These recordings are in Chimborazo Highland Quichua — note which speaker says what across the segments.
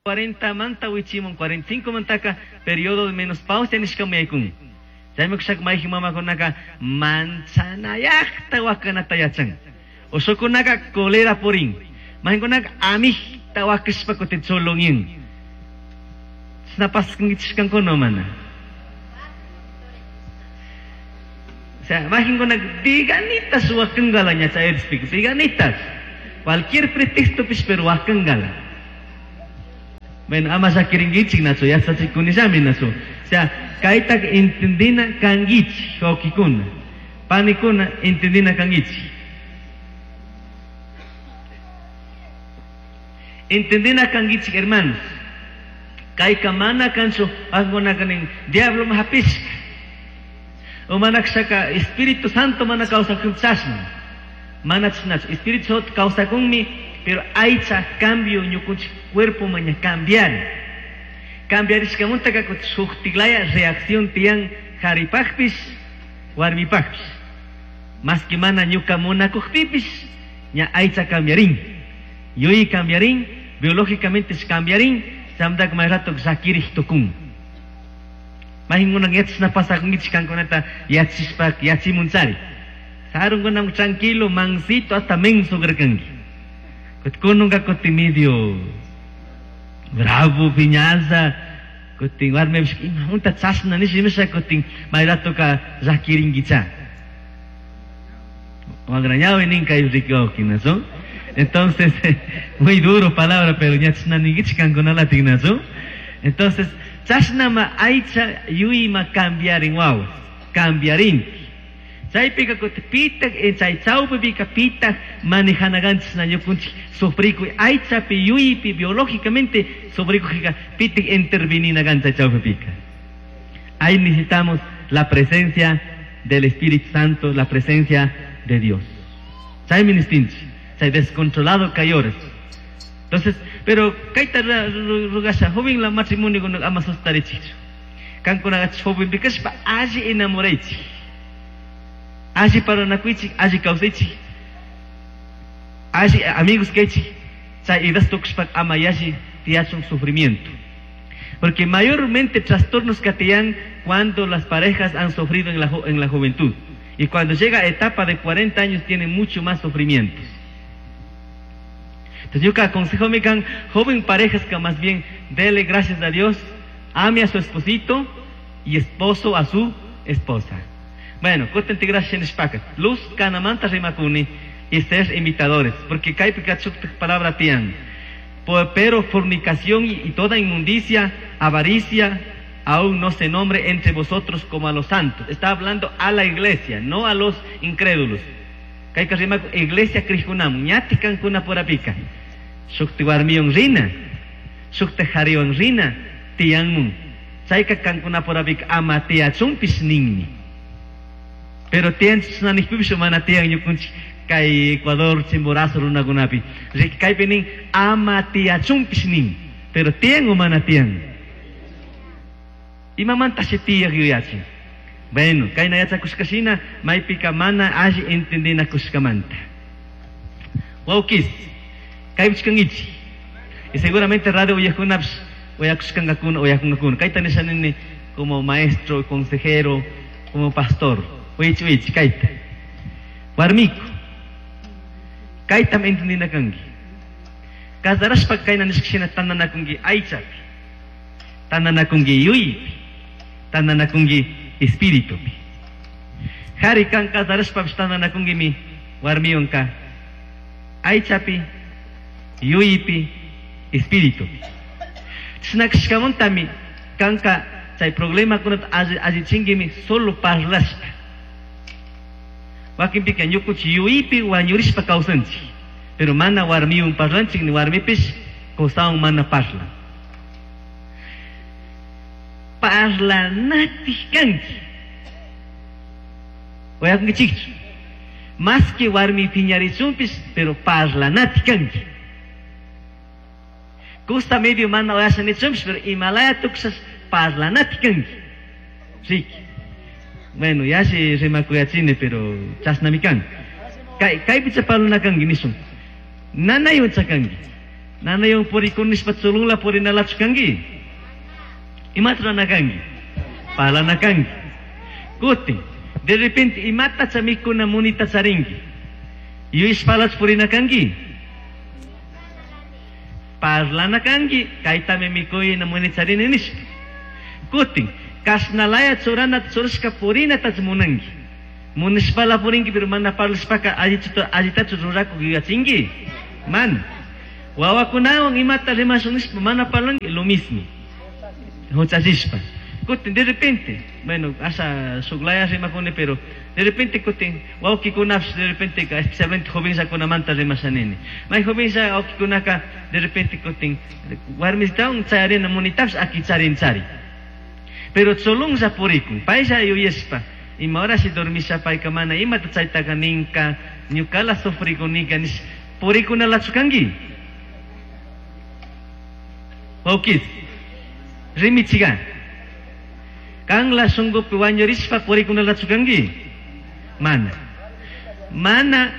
Speaker 1: 40 manta wichimun 45 mantaka periodo de menopausia nishkaman yaykun. Chaymi kushaka mayjin mamakunaka manchanayaqta wakanata yachan. Ushukunaka cólera purin. Mayjinkunaka amijta wakashpa kutin chulunyin. Chashna paskankichishkankuna mana? O sea, mayjinkunaka deganitas wakankala ña chay edadpika, deganitas. Cualquier pretexto pish, pero wakankala. Bueno, ama llakirinkichik nachu, yachachikunillami nachu. O sea, kayta entendina kankichik, wawkikuna. Panikuna entendina kankichik. Entendina kankichik, hermanos. Kayka mana kanchu, wakinkunaka nin, diablo hapishka. O mana kashaka Espíritu Santo mana kawsakun chashna. Mana chashnachu. Espíritu Santo kawsakunmi, pero aycha cambio ñukunchik cuerpo maña cambiar. Cambiarishkamanta shuktiklaya reacción tiyan haripajpish, warmipajpish. Más que mana ñuka munakujpipish, ña aycha cambiarin. Yui cambiarin, biológicamente cambiarin, chamdak may rato llakirij tukun. Mayjinkunan yachashna pasakunkichik kankunata yachishpa yachimunchari. Sarunkunam tranquilo, mansito, hasta menso karkanki. Kununka kutin medio bravo, piñaza, kutin warmipish imamunta chashna nish imasha kutin may ratoka llakirinkicha. Wagrañawi nin kay riki wawki, Entonces, muy duro palabra, pero ña chashna ninkichik kankunalatik, nachu? Entonces, chashnama aycha yuyma cambiarin wawas, cambiarin. Chaypika kutin pitak chay chawpipika pitak manejanaganchis na ñukunchik sufrikuy aychapi yuypi biológicamente sufrikujika pitak interveninagan chay chawpipika. Ahí necesitamos la presencia del Espíritu Santo, la presencia de Dios. Chay ministinchik, chay descontrolado kayores. Entonces, pero kayta rugasha, joven la matrimonio ama sustarichikchu. Kankunaqa joven kashpa alli enamoraychik. Alli parlanakuychik, alli kawsaychik. Alli amigos kaychik. Chay edad tukushpa ama yalli tiyachun sufrimiento. Porque mayormente trastornos que tiyan cuando las parejas han sufrido en la juventud. Y cuando llega a etapa de 40 años tienen mucho más sufrimientos. Entonces yo aconsejo mi can, joven parejas que más bien dele gracias a Dios, ame a su esposito y esposo a su esposa. Bueno, kutin tigrasha nishpaka. Luz kanamanta rimakuni y ser imitadores, porque kaypi palabra tiyan. Pero fornicación y toda inmundicia, avaricia, aún no se nombre entre vosotros como a los santos. Está hablando a la iglesia, no a los incrédulos. Kayka rimakun iglesia crijkunamun, ñati kankuna purapika. Shukti warmiwan rina, shukti hariwan rina, tiyanmun. Chayka kankuna purapika ama tiyachunpish ninmi. Pero tiyan chashna mana tiyan ñukunchik kay Ecuador, Chimborazo runakunapi. Kaypi nin ama tiyachunpish nin. Pero tiyan o mana tiyan. Imamantashi tiyaq yuyachin. Bueno, kayna yachakushkashina maypika mana alli entendinakushkamanta. Wawkis, kaypichkankichik. Y seguramente radio uyakunapish uyakushkankakuna, uyakunkakuna. Kayta nisha nini como maestro, consejero, como pastor. Uychi uychi, kayta. Warmiku, kaytam entendina kanki. Casarashpa kayna nishkashina tantanakunki aychapi, tantanakunki yuypi, tantanakunki espiritupi. Hari kan casarashpapish tantanakunkimi warmiwanka aychapi, yuypi, espiritupi. Chashna kashkamuntami kanka chay problemakunata allichinkimi solo parlashpa. Wakinpika ñukunchik yuypi wañurishpa kawsanchik. Pero mana warmiwan parlanchik ni warmipish kusawan mana parlan. Parlanatik kanki. Uyakunkichikchu. Más que warmi piñarichunpish, pero parlanatik kanki. Kusa medio mana uyasha nichunpish, pero imalaya tukushas parlanatik kanki. Riki. Bueno, yashi rimakuyachini, pero chashnami kan. Kay kaypicha parlana kanki nishun. Nanaywan chakanki. Nanaywan purikuni nishpa chulunla purinalachu kanki? Imata rurana kanki? Parlana kanki. Kutin, de repente imatacha mikuna munita charinki? Yuyashpalachu purina kanki? Parlana kanki, kaytami mikuyna muni charini nishpa. Kutin, kashnalaya churanata churashka purinatachu munanki? Munishpala purinki, pero mana parlashpaka allitachu rurakuk yuyachinki? Mana. Wawakunawan imata rimashun nishpa mana parlanki, lo mismo. Huchachishpa. Kutin, de repente, bueno, asha shuklaya rimakuni, pero de repente kutin, wawkikunapish de repente, especialmente jovenllakunamanta rimashanini. May jovenlla wawkikunaka de repente kutin, warmistawan chayarina munitapish aki charin chari. Pero cholunlla purikun, paylla yuyashpa, ima horashi dormisha payka mana imata chaytaka ninka, ñukala sufrikunika nish, purikunalachu kanki? Wawkis, rimichiga. Kanla shunkupi wañurishpa purikunalachu kanki? Mana. Mana.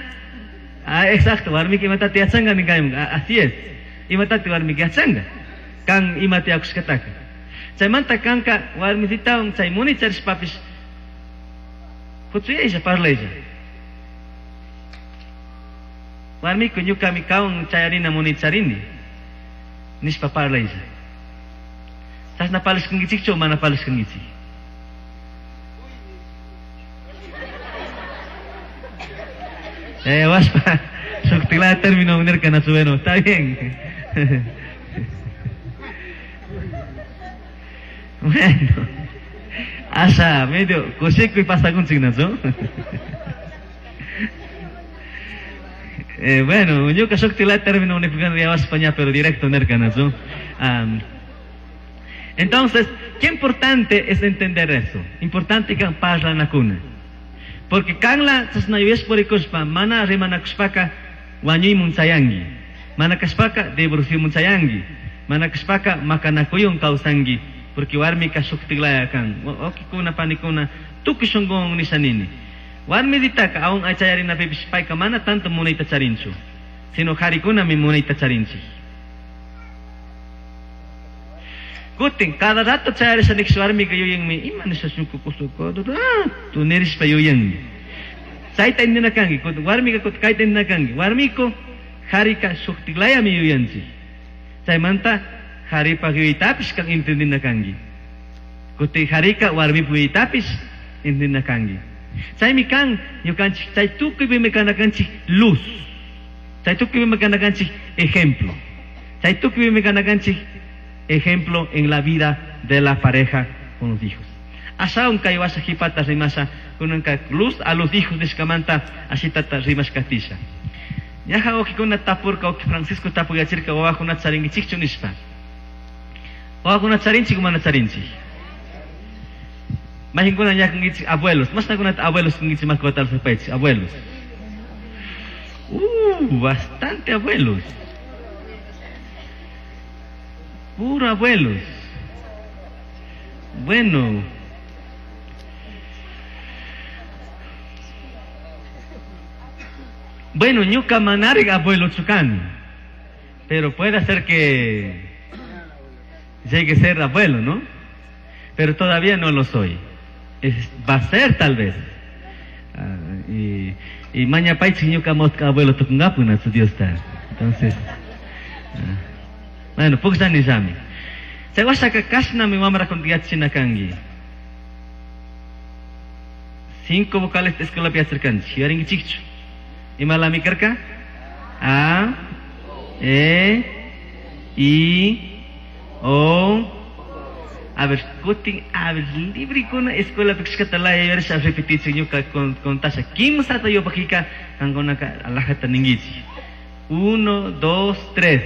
Speaker 1: Ah, exacto, warmika imatata yachanka ninkayman. Así es. Imatata warmika yachanka. Kan imata yakushkataka. Chaymanta kanka warmisitawan chay muni charishpapish huchuyaylla parlaylla. Warmiku ñukami kawan chayarina muni charini nishpa parlaylla. Chashna parlashkankichikchu o mana parlashkankichik? Washpa, shuktiklaya término nirka nachu, bueno, está bien. Bueno, asha medio kushikuy pasakunchik nachu. Bueno, ñuka shuktiklaya término nikukan yawashpa ña, pero directo nirka nachu. Entonces, qué importante es entender eso. Importante kan parlanakuna. Porque kanla chashna yuyashpa purikushpa, mana rimanakushpaka wañuymun chayanki. Mana kashpaka divorciomun chayanki. Mana kashpaka makanakuywan kawsanki. Porque warmika shuktiklaya kan. Wawkikuna, panikuna, tukuy shunkuwan nisha nini. Warmiditaka aún aychayarinapipish payka mana tanto munayta charinchu, sino qharikunami munayta charinchik. Kutin, cada rato chayarisha nikish warmika yuyanmi, ima nisha ñuka kusa cada rato nirishpa yuyanmi. Chayta intindina kanki, kutin warmika kutin kayta intindina kanki. Warmiku, qharika shuktiklayami yuyanchik. Chaymanta qharipaq yuyaytapish kan intindina kanki. Kutin qharika warmipaq yuyaytapish intindina kanki. Chaymi kan ñukanchik chay tukuypimi kana kanchik luz. Chay tukuypimi kana kanchik ejemplo. Chay tukuypimi kana kanchik ejemplo en la vida de la pareja con los hijos. Ashawan kay washa qhipata rimasha kunanka luz a los hijos nishkamanta ashitata rimashkatisha. Ñaja wawqikuna tapurka, wawqi Francisco tapuyachirka wawakunata charinkichikchu nishpa. Wawakunata charinchik o mana charinchik? Mayqinkuna ña kankichik abuelos, mashnakunata abuelos kankichik makiwata alzapaychik, abuelos. Bastante abuelos. Puro abuelos. Bueno. Bueno, ñuka manarik abuelo kani, pero puede ser que llegue a ser abuelo, ¿no? Pero todavía no lo soy. Va a ser tal vez. Ah, y mañapaychik ñuka mosca abuelo tukungapu nachu Diosta. Entonces, ah, bueno, pukllani llami. Chay washaka kashnami wamrakuna yachachina kanki. 5 vocales escuelapi yacharkanchik. Yuyarinkichikchu? Imalami karka? A, E, I, O. A ver, kutin, a ver, librikuna escuelapi kashkata laya yuyarisha repetichik ñuka kontasha. Kimsata yupakika kankunaka alajata ninkichik. 1, 2, 3.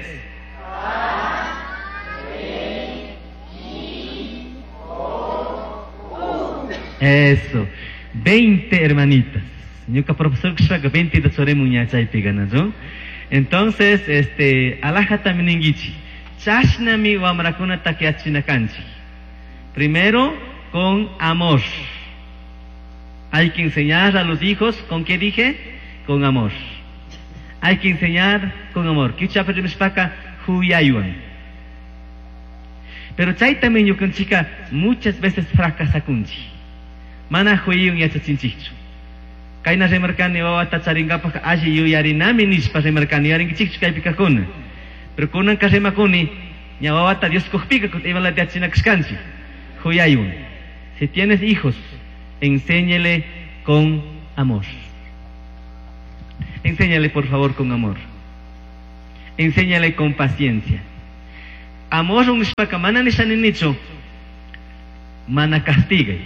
Speaker 1: Eso. 20 hermanitas. Ñuka profesor kashpaka 20 churimun ña chaypi ganachu. Entonces, alajatami ninkichik. Chashnami wamrakunata yachachina kanchik. Primero, con amor. Hay que enseñar a los hijos, ¿con qué dije? Con amor. Hay que enseñar con amor. Kichapa rimashpaka, Huyaywan. Pero chaytami ñukanchika muchas veces fracasakunchik. Mana huyaywan yachachinchikchu. Kayna rimarkani wawata charingapaj alli yuyarinami nishpa rimarkani yuyarinkichikchu kaypi kajkuna. Pero kunanka rimakuni ña wawata Dios kujpika kutin imalata yachachina kashkanchik. Huyaywan. Si tienes hijos, enséñele con amor. Enséñale por favor con amor. Enséñale con paciencia. Amor nishpaka mana nishaninichu mana castigay.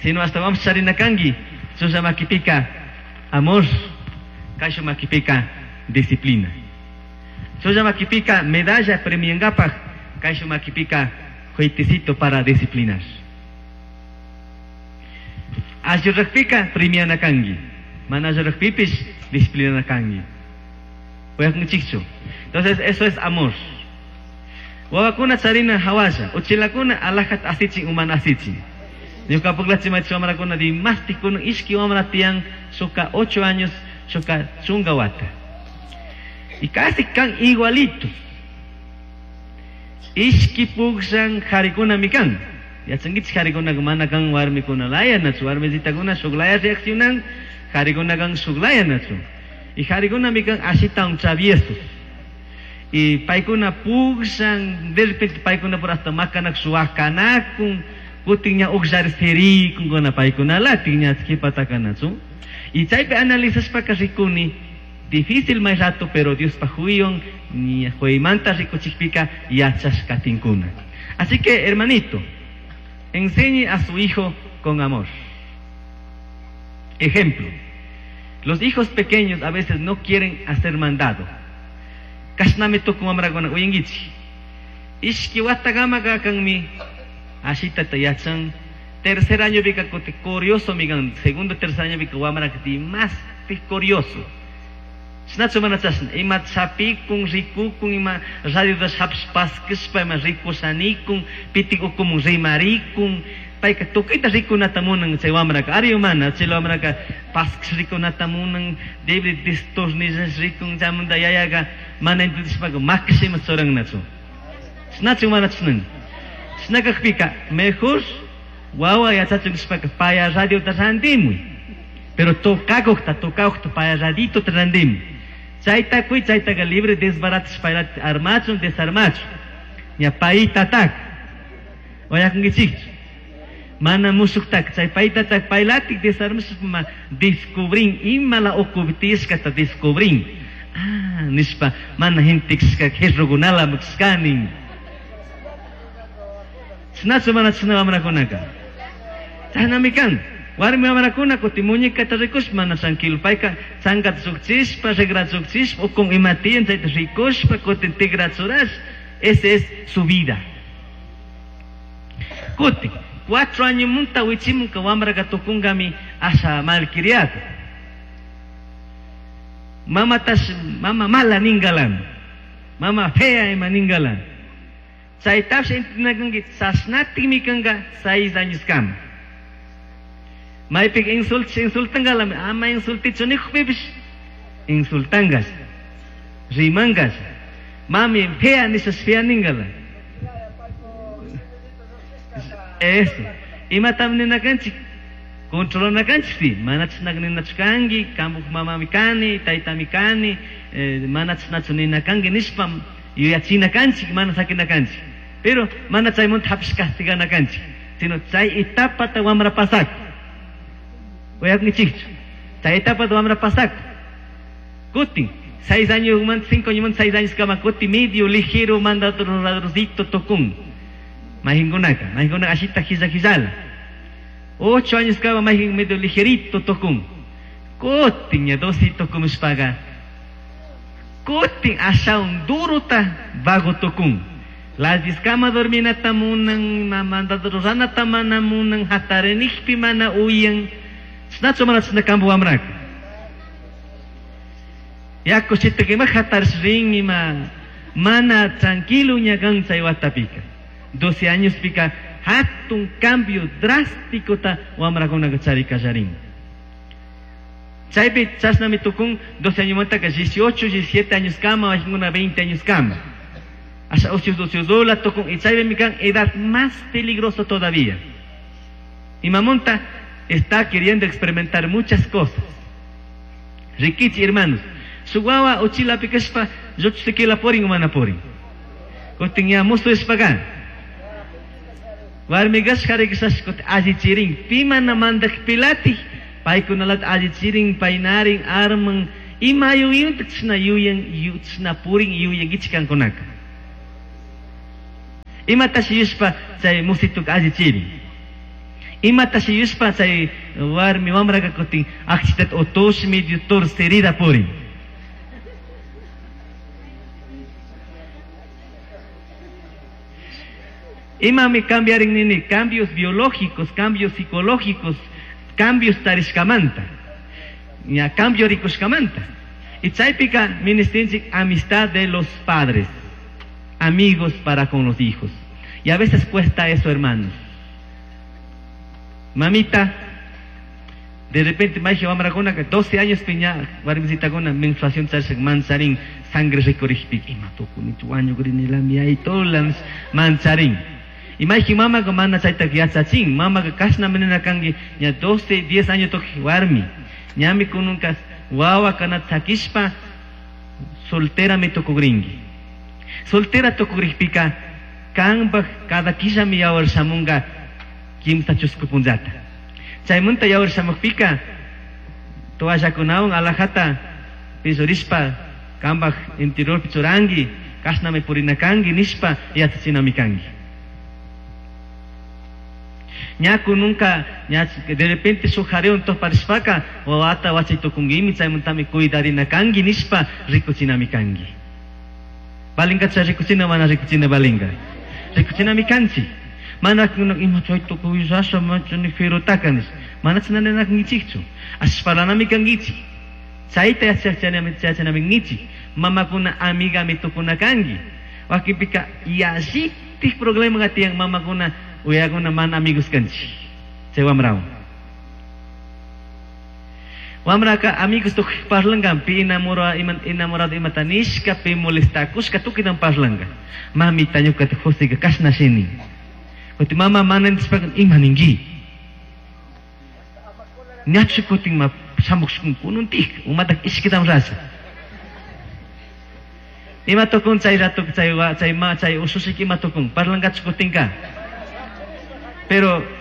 Speaker 1: Sino hasta vamos charina kangi chulla makipika amor, kayshu makipika disciplina. Chulla makipika medalla premiangapaj, kayshu makipika juitecito para disciplinar. Ayurrakpika premiana kangi. Mana ayurrakpipish disciplina kangi. Uyakunchikchu. Entonces eso es amor. Wawakuna charina hawasha, uchilakuna alajat asichin umana asichin. Ñuka puklachi machi wamrakuna dimástikuna ishki wamra tiyan shuka 8 años, shuka chunga wata. Y casi kan igualitos. Ishki pukshan harikuna mikan. Yachankichik harikuna mana kan warmikuna laya nachu, warmisitakuna shuklaya reaccionan, harikuna kan shuklaya nachu. Y harikuna mikan ashita un traviesos. Y paykuna pukshan, de repente paykuna por hasta makanak suwakanakun, kutin ña uqllarisirikunkuna paykuna latin ña qhipatakanachu. Y chaypi analizashpaka rikuni, difícil may rato, pero Dios pa huyon, ni huymanta rikuchikpika yachashkatinkuna. Así que, hermanito, enseñe a su hijo con amor. Ejemplo, los hijos pequeños a veces no quieren hacer mandado. Kashnami tukun wamrakuna uyankichik. Ishki watagama kanmi ashita yachan. Tercer año pika kuti curioso migan, segundo tercer año pika wamra kuti más curioso. Chashnachu mana chashna, ima chapikun, rikukun, ima radio da paskishpa, ima rikushanikun, pitik ukumun rimarikun, payka tukuyta rikunata munan chay wamraka, ari mana, chay wamraka paskish rikunata munan, debe destornillas rikun, chaymanta yayaqa mana entendishpaka makish ima churannachu. Chashnachu mana chashnan. Chashna kajpika, mejor wawa yachachun nishpaka paya radiota randimuy. Pero tocakujta, tocakujta, paya radito randimuy. Chayta kuy, chaytaqa libre desbaratish payrat armachun, desarmachun. Ña paytatak. Oyakunkichikchu. Mana mushuktak, chay paytatak paylatik desarmash ma descubrin, imala ukuptishkata descubrin. Ah, nishpa, mana gentekshka jerrukunala mukshkanin. Chashnachu mana chashna wamrakunaka. Chashnami kan. Warmi wamrakuna kuti muñecata rikushpa mana tranquilo. Payka chankata shukchishpa, rigrata shukchishpa, ukun ima tiyan chayta rikushpa, kutin tigrachurash. Esa es su vida. Kutin, 4 años munta wichimunka wamraka tukunkami asha malcriado. Mama tash, mama mala ningalan. Mama fea ima ningalan. Chaytash entinakanki chashnatikmi kanka 6 años kama. Maypika insultish insultangalami, ama insultichu nijpipish insultangas, rimangas. Mami fea nishas fea ningala. Eso. Imatam ninakanchik, controlanakanchik si, mana chashnak ninachu kanki, kampuj mamami kani, taytami kani, mana chashnachu ninakanki nishpa yuyachinakanchik, mana sakinakanchik. Pero mana chaymunta hapish castiganakanchik, sino chay etapata wamra pasak. Uyakunkichikchu. Chay etapata wamra pasak. Kutin, 6 años, 5 años, 6 años kama kuti medio ligero mandado ladroncito tocun. Mahingunaka, mahingunaka ashita hisa hisala. 8 años kama mahin medio ligerito tocun. Kutin ya dosito kumushpaga. Kutin ashaun duruta vago tocun. Las diskama dorminata munan, mandado ranata mana munan, hatarenikpi mana uyan. Chashnachu mana chashna kampu wamraka. Yaku chita ima hatarishrin ima mana tranquilo ña kan chay watapika. 12 años pika hatun cambio drástico ta wamrakunaka chari kallarin. Chaypi chashnami tukun 12 añomantaka 18, 17 años kama, wakinkuna 20 años kama. Asha usius tukun y chaypimi kan edad más peligroso todavía. Imamunta está queriendo experimentar muchas cosas. Rikichi hermanos, shuk wawa uchilapi kashpa lluchsikila purin o mana purin. Kutin ña musu ishpaka. Warmi kashpa kari kashpa kutin allichirin. Pi mana mandakpilatik paykunalata allichirin, paynarin, arman, ima yuyinta chashna yuyan, chashna purin yuyankichik kankunaka. Imatashi yushpa chay musituka allichirin. Imatashi yushpa chay warmi wamraka kutin akchitata utush medio torcerida purin. Imami cambiarin nini, cambios biológicos, cambios psicológicos, cambios tarishkamanta, ña cambio rikushkamanta. Y chaypika ministinchik amistad de los padres, amigos para con los hijos. Y a veces cuesta eso, hermanos. Mamita, de repente mayji wamrakuna 12 años piña warmisitakuna menstruación charishak mancharin sangre rikurikpika ima tukunichu wañukrinilami aytola mancharin. Y mayji mamaka mana chaytaka yachachin, mamaka kashnami nina kanki ña 12, 10 años tukuy warmi. Ñami kununka wawa kanata sakishpa solterami tukukrinki. Soltera tukukrikpika kanpak cada killami yawar shamunka kimsa chusku punllata. Chaymanta yawar shamukpika toallakunawan alajata pillurishpa kanpak interiorpi churanki kashnami purina kanki nishpa yachachinami kanki. Ñaku nunca, ña de repente shuk jariwan tuparishpaka wawata wachay tukunkimi chaymantami cuidarina kanki nishpa rikuchinami kanki. Balinka chay rikuchina mana rikuchina balinka. Rikuchinami kanchik. Mana ima chay tukuy sasha machani firutaka nish. Mana chashna ninakankichikchu. Ashpalanami kankichik. Chayta yachachinami kankichik. Mamakuna amigami tukuna kanki. Wakinpika yallitik problema tiyan mamakuna uyakuna mana amigos kanchik. Chay wamrawan. Wamraka amigos tukuy parlanka pi enamorado imata nishka, pi molestakushka tukuytan parlanka. Mamita ñukata Joseka kashna shini. Kuti mama mana nishpaka ima ninki. Ñachu kutin ma shamushkun kununtik, umatak ishkitam rasha. Ima tukun chay rato chay wa chay ma chay usushik ima tukun parlankachu kutinka.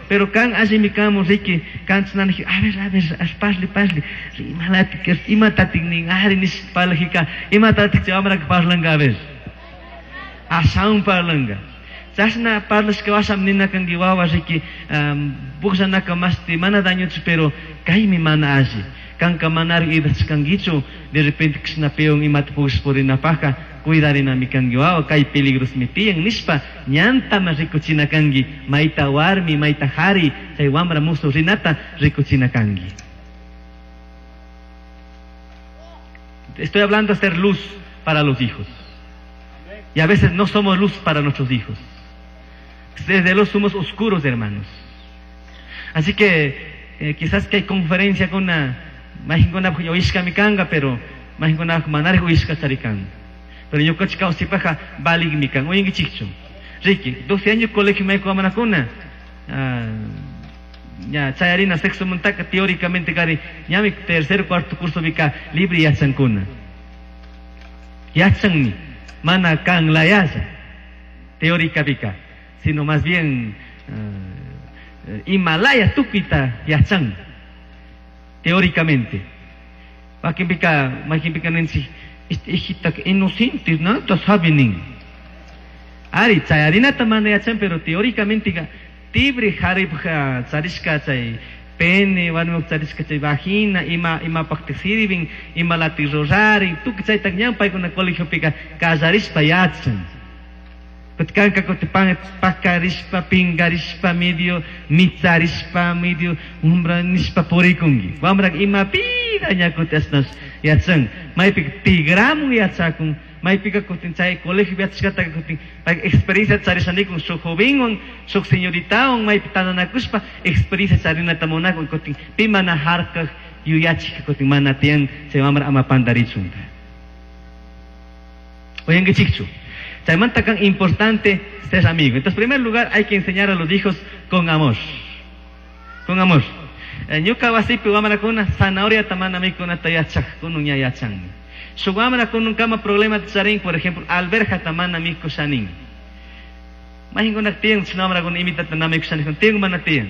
Speaker 1: Pero kan allimi kamun riki, kan chinaniji, a ver, a ver, parli, parli, imalatik, imatatik nin, ari nish parlajika, imatatik chay wamraka parlanka, a ver. Ashawan parlanka. Chashna parlashka washam nina kanki wawa riki, pukllanaka mashti mana dañochu, pero kaymi mana alli. Kanka manari idachkankichu, de repente kishna peon imata pukllish purinapajka, cuidarinami kanki wawa, kay peligrosmi tiyan nishpa, ñantama rikuchina kanki, mayta warmi, mayta jari, chay wamra musu rinata rikuchina kanki. Estoy hablando de ser luz para los hijos. Y a veces no somos luz para nuestros hijos. Desde los somos oscuros, hermanos. Así que quizás que hay conferencia con una, majinkuna oishka mi kanga, pero majinkuna manari oishka charikan. Pero yo coche kausipaja balig mi kan, oyengi chicho. Ricky, 12 años colegio me amanakuna. Ya, chayarina sexo montaka teóricamente cari, ñami tercer cuarto curso vika libre yachankuna. Yachanni, mana kan la yaya, teórica vika, sino más bien Himalaya tukita yachan, teóricamente. Makimpika, makimpika nensi, este hijita inocente, ¿no? Sabe nin. Ari, chayarinata mana yachan, pero teóricamente ga, tibre haripja charishka chay pene, warmuk charishka chay vagina, ima, ima pakti sirvin, ima lati rurari, tuki chaytak ñan paykuna colegiopika kallarishpa yachan. Kutkanka kuti pan, pakarishpa, pingarishpa, medio, mitsarishpa, medio, umbra nishpa purikunki. Wamrak ima pida ña kuti ashnash yachan. Maypika tigramun yachakun, maypika kutin chay colegio yachashkataka kutin, pay experiencia charishanikun shuk jovenwan, shuk señoritawan, maypi tandanakushpa, experiencia charinata munakun, kutin pi mana harkaj, Yuyachik kutin mana tiyan chay wamra ama pantarichunka. Uyankichikchu. Chaymanta kan importante ser amigo. Entonces, en primer lugar, hay que enseñar a los hijos con amor. Con amor. Ñuka wasipi wamrakuna zanahoriata mana mikunata yachajkunun ña yachanmi. Shuk wamrakununkama problema charin, por ejemplo, alberjata mana mikushanin. Mayqinkunak tiyan chashna wamrakuna imitata na mikushanin, tiyan mana tiyan.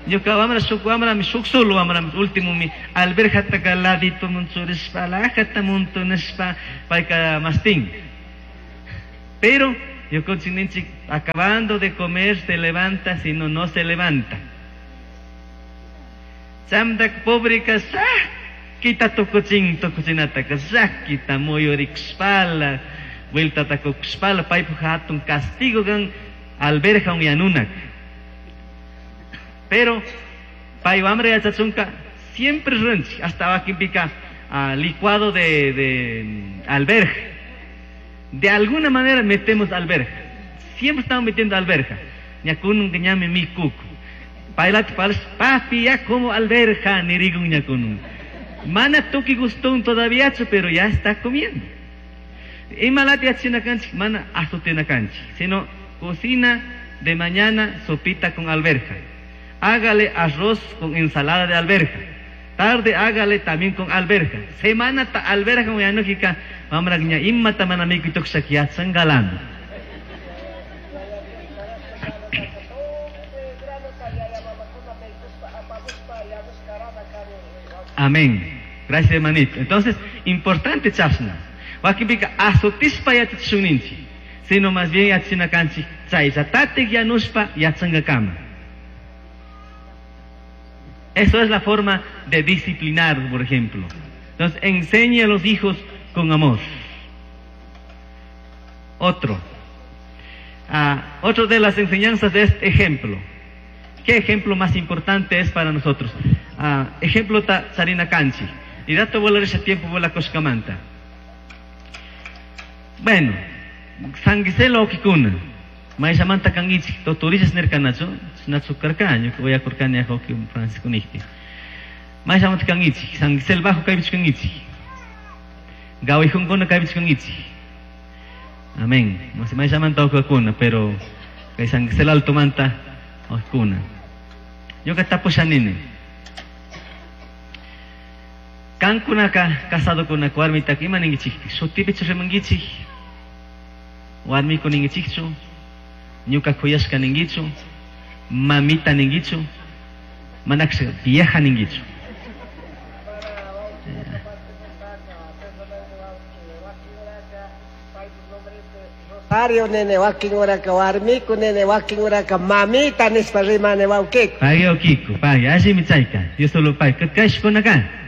Speaker 1: Ñuka wamra shuk wamrami, shuk solo wamrami, últimomi alberjataka laditoman churishpa, alajata montonishpa, payka mastin. Pero ñukanchik ninchik, acabando de comer se levanta, si no, no se levanta. Chamdak pobreka llakita tukuchin, tukuchinataka llakita muyurikushpala, vueltata kukushpala, paypuk hatun castigo kan alberja un yanunak. Pero pay wamra yachachunka siempre runchik, hasta wakinpika, licuado de alberja. De alguna manera metemos alberja. Siempre estamos metiendo alberja. Ñakunun que ñame mi kuku. Pailat pals, papi, ya como alberja, nirigun ñakunun. Mana tuki gustón todavía, pero ya está comiendo. Imalati achina kanchik, mana azotina kanchik, sino cocina de mañana sopita con alberja. Hágale arroz con ensalada de alberja. Tarde hágale también con alberja. Semana ta alberja con yanujika, mamra ña imma ta mana miku tukshak yachan galán. Amén. Gracias, hermanito. Entonces, importante chasna. Wakinpika azotispa yachachishunninchik, sino más bien yachachina kanchik chayllatatik yanushpa yachangakama. Eso es la forma de disciplinar, por ejemplo. Entonces, enseñe a los hijos con amor. Otro. Otro de las enseñanzas de este ejemplo. ¿Qué ejemplo más importante es para nosotros? Ejemplo ta charina kanchi. Y dato volar ese tiempo vola koshkamanta. Bueno, sanguiselo okikuna. Maishamanta kangichi, toturisas nerkanacho, nacho karkaño, voy a korkani a hoki Francisco Nichti. Maishamanta kangichi, sanguisel bajo kaibich kangichi. Gawijunkuna kaibich kangichi. Amén. No sé, maishamanta okikuna, pero kay sanguisel alto manta okikuna. Yo ka tapushanini. Kankunaka casado kuna warmitaka ima ningichikpi, shutipichu rimankichik, warmiku ningichikchu, ñuka kuyashka ningichu, mamita ningichu, manakshka vieja ningichu.
Speaker 2: Rosario nene wakin uraka warmiku nene wakin uraka mamita nispa rimane wawkiku.
Speaker 1: Pagui wawkiku, pagui, allimi chayka, Dios solo pagui, kashkunaka.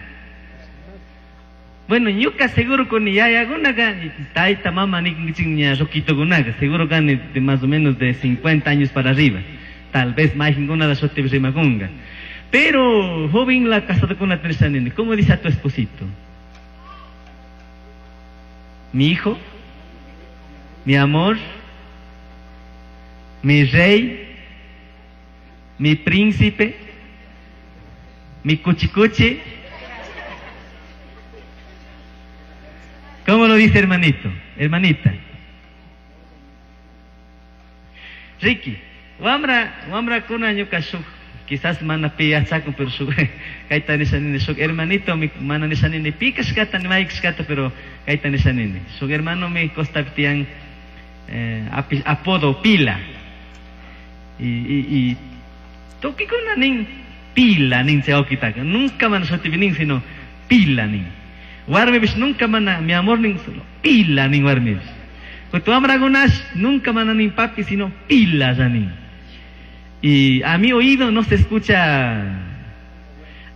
Speaker 1: Bueno, ñuka seguro con yayakunaka, taita mama nikinchik ña roquitokunaka, seguro kan de más o menos de 50 años para arriba. Tal vez majinkuna da shutipi rimakunga. Pero joven la casada con la tercera nene, ¿cómo dice a tu esposito? Mi hijo, mi amor, mi rey, mi príncipe, mi cuchicuchi. ¿Cómo lo dice hermanito? Hermanita. Ricky, wamra, wamra kuna ñuka shuk, quizás mana piyachaku, pero shuk, kayta nisha nini, shuk hermanito mi mana nisha nini, pikashkata ni maykashkata, pero kayta nisha nini. Shuk hermano mi costa tian apodo pila. Y tukikuna nin pila nin chay wawkitaka. Nunca mana shutipi nin, sino pila nin. Warmipish nunca mana mi amor nin, solo pila nin warmipish. Kutu wamrakunash nunca mana nin papi, sino pila ya nin. Y a mi oído no se escucha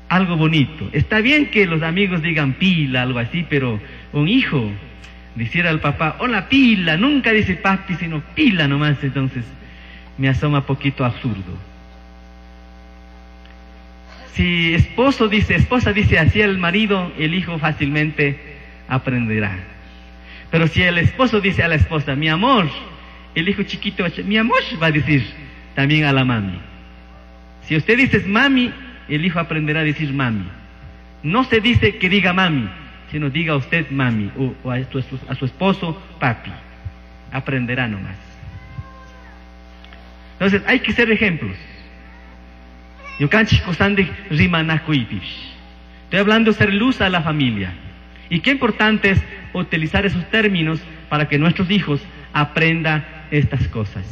Speaker 1: algo bonito. Está bien que los amigos digan pila, algo así, pero un hijo decir al papá, hola pila, nunca dice papi, sino pila nomás, entonces me asoma poquito absurdo. Si esposo dice, esposa dice así al marido, el hijo fácilmente aprenderá. Pero si el esposo dice a la esposa, mi amor, el hijo chiquito va a decir, mi amor, va a decir también a la mami. Si usted dice mami, el hijo aprenderá a decir mami. No se dice que diga mami, sino diga usted mami o a su esposo papi. Aprenderá nomás. Entonces hay que ser ejemplos. Ñukanchik kusandik rimanakuypish. Estoy hablando de ser luz a la familia. Y qué importante es utilizar esos términos para que nuestros hijos aprendan estas cosas.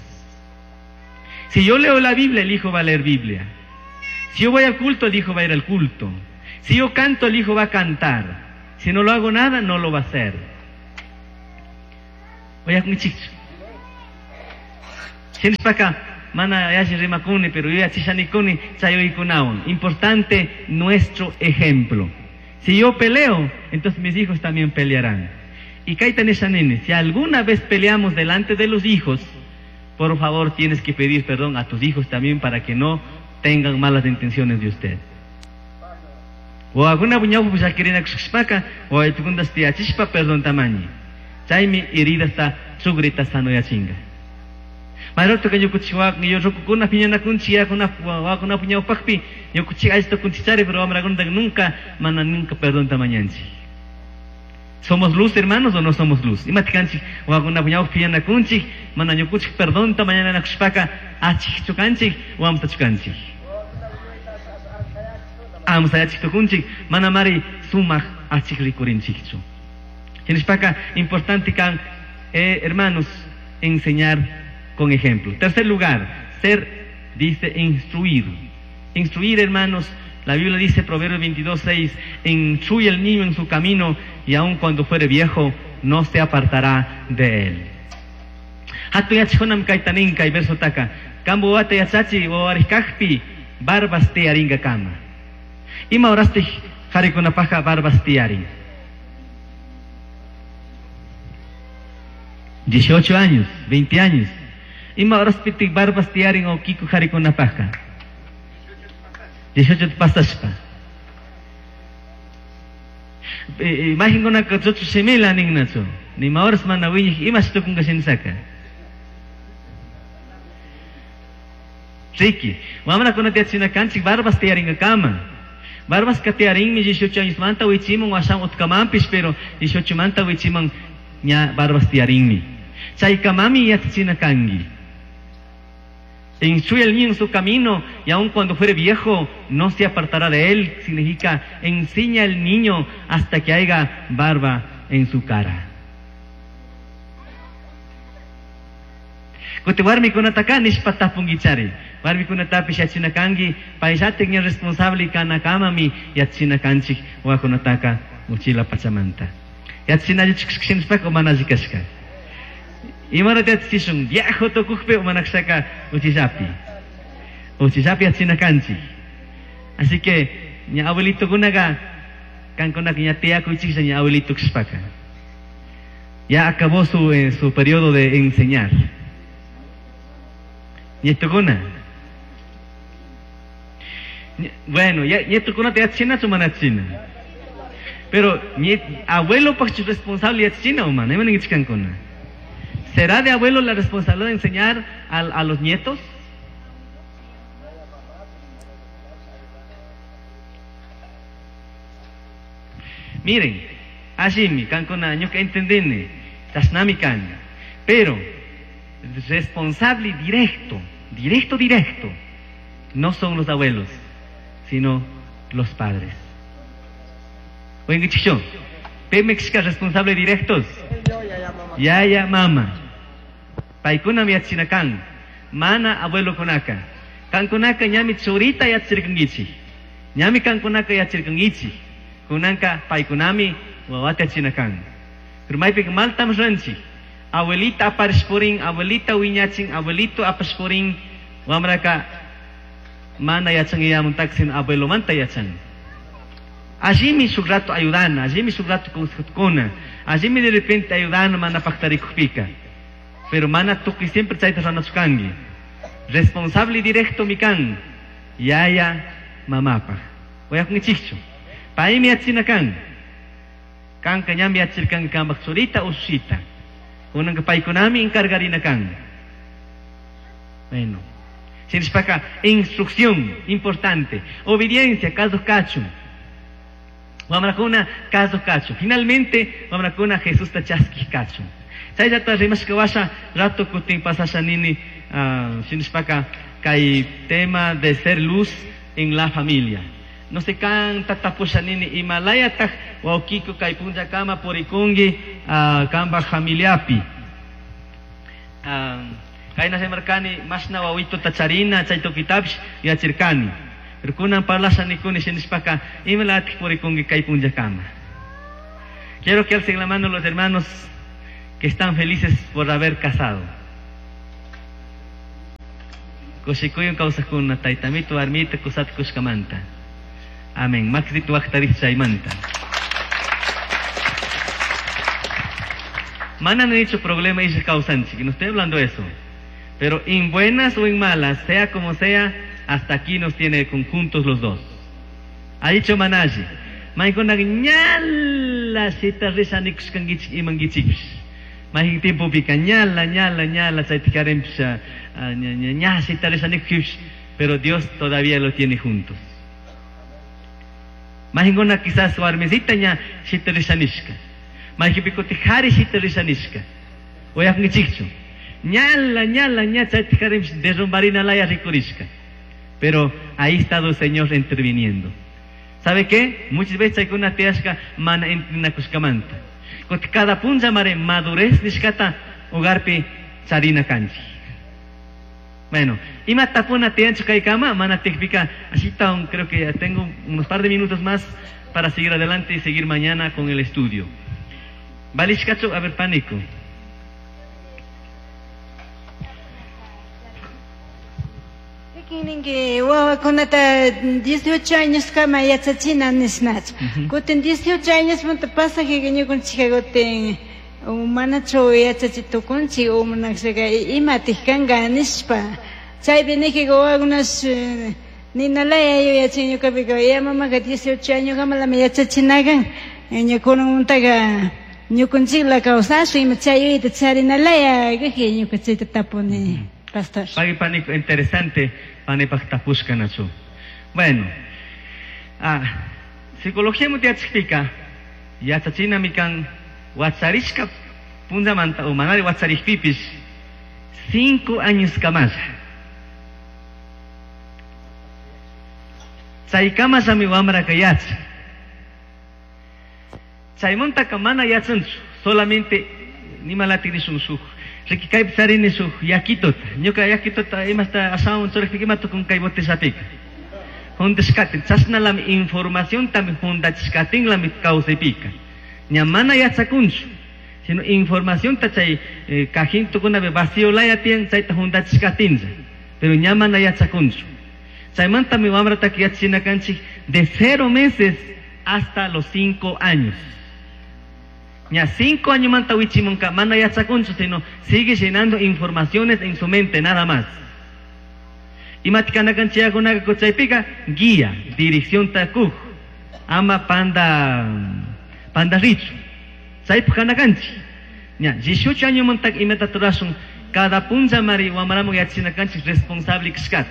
Speaker 1: Si yo leo la Biblia, el hijo va a leer Biblia. Si yo voy al culto, el hijo va a ir al culto. Si yo canto, el hijo va a cantar. Si no lo hago nada, no lo va a hacer. Oye, acá, mana yashi rimakuni, pero yo yachishanikuni, chayoykunawan. Importante nuestro ejemplo. Si yo peleo, entonces mis hijos también pelearán. Y kayta nishani, si alguna vez peleamos delante de los hijos, por favor tienes que pedir perdón a tus hijos también para que no tengan malas intenciones de usted. O alguna buñaw llakirinakushpaka, o aytukuntas tiyachishpa perdón tamañi. Chaymi heridasta chugrita sanoyachinga. Mayroto que ñukuchik yo rukukuna piñanakunchik yakuna wakuna ñawpaqpi ñukuchik allita kunchichari pero wamrakunata nunca mana nunca perdón tamañanchik. ¿Somos luz, hermanos, o no somos luz? Imatikanchik wakuna ñawpaq piñanakunchik mana ñukuchik perdón tamañanakushpaka achikchu kanchik o amsachu kanchik. Amsayachik tukunchik mana mari sumaq achik rikurinchikchu. Shinashpaka importante kan, hermanos, enseñar con ejemplo. Tercer lugar, ser, dice, instruir. Instruir, hermanos, la Biblia dice, Proverbios 22, 6, instruye al niño en su camino y aun cuando fuere viejo, no se apartará de él. Hatun yachajkunam kayta nin kay verso taka. Kambu wawata yachachi wawarikajpi barbas tiyaringakama. Ima horastik qharikunapajqa barbas tiyarin. 18 años, 20 años. Ima horaspitik barbas tiyarin o kiku qharikunapajqa. 18 pasashpa. Imaginkunaka chuchu shimila ninnachu. Nima horas mana wiñaq imash tukunka shinisaka. Riki, wamrakunata yachachina kanchik barbas tiyaringakama. Barbas ka tiyarinmi 18 años manta wichimun washan utkamanpish, pero 18 manta wichiman ña barbas tiyarinmi. Chaykamami yachachina kanki. Instruye al niño en su camino y aun cuando fuere viejo no se apartará de él. Significa enseña al niño hasta que haya barba en su cara. Kuti warmikunataka nishpa tapunkichari. Warmikunatapish yachachina kanki, payllatik ña responsable kanakamami yachachina kanchik wawakunataka uchila pachamanta. Yachachina allichu mana alli kashka. Imarata yachachishun viejo tukukpi o mana kashaka uchillapi. Uchillapi yachachina kanchik. Así que ña abuelitokunaka kankunaka ña tiyakuychiklla ña abuelito kashpaka. Ya acabó su periodo de enseñar. Nietokuna. Bueno, ya nietokunata yachachinachu mana yachachina. Pero abuelo paqchu responsable yachachina o mana, ima ninkichik kankuna. ¿Será de abuelo la responsabilidad de enseñar a los nietos? Miren, allimi, kankuna, ñuka entendini, chashnami kan. Pero, responsable directo, directo, directo, no son los abuelos, sino los padres. Oigan, chicho, pimikshka responsable directos. Yaya, mama. Paykuna yachachina kan. Mana abuelokunaka. Kankunaka ñami churita yachachirkankichik. Ñami kankunaka yachachirkankichik. Kunanka paykunami wawata yachachina kan. Pero maypika maltam ruranchik. Abuelita aparishpurin, abuelita wiñachin, abuelito apashpurin, wamraka mana yachan iyamuntak sino abuelomanta yachan. Allimi shuk rato ayudana, allimi shuk rato consejukuna, allimi de repente ayudana mana paktarikujpika. Pero mana tukuy siempre chayta ranachu kanki. Responsable directo mi kan, yaya mamapaj. Uyakunkichikchu. Paymi yachachina kan. Kanka ñami yachachirkanki kanpaj churita usushita. Kunanka paykunami encargarina kan. Bueno. Shinashpaka, instrucción importante. Obediencia, kasuj kachun. Wamrakuna kasuq kachun. Finalmente wamrakuna Jesusta chaskiq kachun. Chayllata rimashka washa rato kutin pasasha nini shinashpaka kay tema de ser luz en la familia. No sé kanta tapusha nini imalayataq wawqiku kay punllakama purikunki kanpaq familiapi. Kayna rimarkani mashna wawituta charina chay tukitapish yachirkani. Pero kunan parlasha nikuni shinashpaka imalatik purikunki kay punllakama. Quiero que alcen la mano los hermanos que están felices por haber casado. Kushikuywan kawsaqkuna taytamito warmita kusata kushkamanta. Amén. Makisita waqtarij chaymanta. Mana no he dicho problema y kawsanchik, no estoy hablando de eso. Pero en buenas o en malas, sea como sea, hasta aquí nos tiene conjuntos los dos. Ha dicho Manashi. Maykunaqa ñala shita risha nikushkankichik imankichikpish. Mayqin tiempopika ñala, ñala, ñala chayta karinpish, ña shita risha nikushpish, pero Dios todavía lo tiene juntos. Mayqinkuna quizás warmisita ña shita risha nishka. Mayqinpi kutin qhari shita risha nishka. Uyakunkichikchu. Ñala, ñala, ña chayta karinpish derrumbarina laya rikurishka. Pero ahí está el Señor interviniendo. ¿Sabe qué? Muchas veces chaykuna tiyashka mana entinakushkamanta. Kutin cada punlla mare madurez nishkata hogarpi charina kanchik. Bueno, ima tapuna tiyanchu kaykama, mana tikpika, así creo que ya tengo unos par de minutos más para seguir adelante y seguir mañana con el estudio. Valishkachu, a ver, pánico.
Speaker 3: Ninki wawakunata 18 años kama yachachina nishnachu. Kutin 18 años manta pasajiga ñukanchikka kutin manachu yachachi tukunchik o manakshaka imatik kanka nishpa. Chaypi nijika wawakunash ninalaya yuyachin ñukapika ya mamaka 18 años kamalami yachachinakan. Ñukunamantaka ñukanchikla kawsashun ima chay yuyayta charinalaya kaji ñuka chayta tapuni. Pastor.
Speaker 1: Pagui pánico, interesante, panipaj tapushka nachu. Bueno, psicología mutiachikpika, yachachina mikan wacharishka punllamanta o manari wacharishpipish 5 años kamalla. Chaykamallami wamraka yachan. Chaymantaka mana yachanchu, solamente nimalati nishun shuk. Riki kaypi charini shuk yakituta. Ñuka yakituta imasta ashawan churajpika ima tukun kay botellapika. Juntashkatin, chashnalami informaciontami juntachishkatinlami kawsaypika. Ña mana yachakunchu, sino informacionta chay cajintukunapi vacío laya tiyan chayta juntachishkatinlla. Pero ña mana yachakunchu. Chaymantami wamrataka yachachina kanchik de 0 meses hasta los 5 años. Ña 5 años manta wichimunka mana yachakunchu, sino sigue llenando informaciones en su mente nada más. Imatikanakanchiyakunaka kuchaypika guía, dirección takuj, ama panda, panda richu. Chaypaj kanakanchik. Ña 18 años mantak imata turashun, cada punlla mari wamaramun yachinakanchik responsable kashkata.